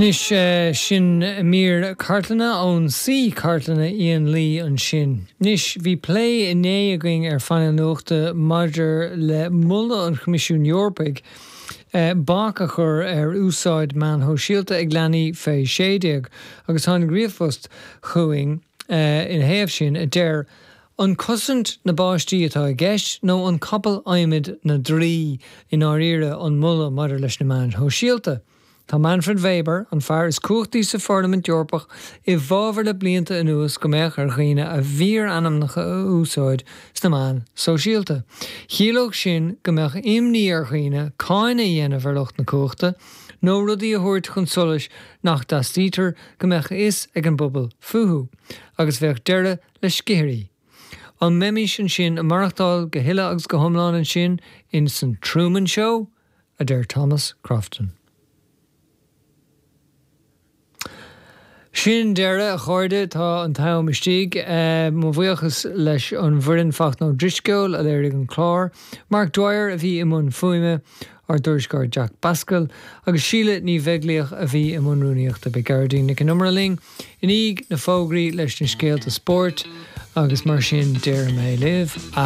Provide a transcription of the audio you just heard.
Anois, sin mír cartlainne ón suí cartlainne Ian Lee ansin. Anois, bhí plé inné againn ar Phainéal Nuachta maidir le moladh an Choimisiúin Eorpaigh bac a chur ar úsáid meáin shóisialta ag leanaí fé 16 agus tháinig ríomhphost chugainn ina thaobh sin a deir An cosaint na bpáistí atá i gceist nó an capall adhmaid na draoi i ndáiríre an moladh maidir leis na meáin shóisialta? Tá Manfred Weber, an fear is cumhachtaí sa Pharlaimint Eorpach, i bhfabhar le blianta anuas go mbeadh ar dhaoine a bhfíorainmneacha a úsáid sna meáin sóisialta. Chiallódh sin go mbeadh imní ar dhaoine cáineadh a dhéanamh ar lucht na cumhachta, nó rudaí a thabhairt chun solais nach dteastaítear go mbeadh a fhios ag an bpobal fúthu. Agus bheadh deireadh le sciathirí. An mbeimis ansin ag maireachtáil go huile agus go hiomlán ansin in san Truman Show? a deir Thomas Crofton. Sin deireadh, a chairde, tá an t-am istigh. Mo bhuíochas leis an bhfoireann Fachtna Ó Drisceoil a léirigh an clár, Mark Dwyer a bhí i mbun fuaime, ár dtuairisceoir Jack Basquel, agus Síle Ní Bheaglaoich a bhí i mbun rúnaíochta. Beidh Gearóidín Nic an Iomaire linn i ndiaidh na bhfógraí leis na scéalta spóirt agus mar sin déarfaidh mé libh.